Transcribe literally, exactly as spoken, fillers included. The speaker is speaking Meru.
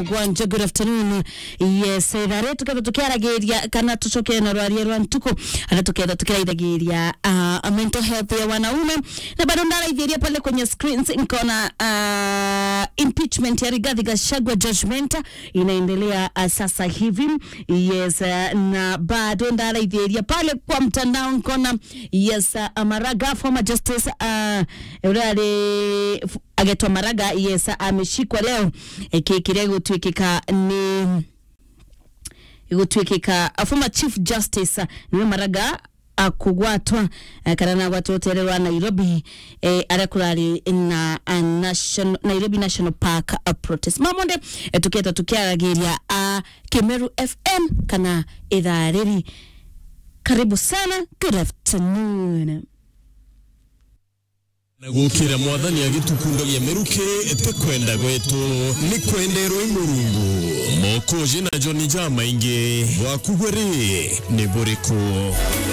Gwanja, good afternoon. Yes, ithaa riri tuketha tukiaragiria kana tucokere na rwaria rwa ntuku, aria tuketha tukiraithagiria, ah, mental health ya wanaume. Na bado ndaraithiria pale kwenye screens, nkaona, ah, impeachment ya Rigathi Gachagua, judgment inaendelea, ah, sasa hivi. Yes, ah, na bado ndaraithiria pale kwa mtandao, nkaona, yes, ah, Maraga, former justice, ah, uria ari agetwa Maraga, yes, ameshikwa leo. Eki kiria gutwikika ni, gutwikika, a former Chief Justice, niwe Maraga akugwatwa, eh, kana nagwatwa rutere rwa Nairobi, eh, aria kurari na, a national, Nairobi National Park, a protest. Mamonde, eh, tuketa tukiaragiria a Kimeru F M kana ithaa riri. Karibu sana, good afternoon. Na gukira Mwathani agitukundagia miruki, ti kwenda gwetu, ni kwenderwe i Murungu. Mokoji na Joni jamaingi, bwaku bwe ri, ni buriku?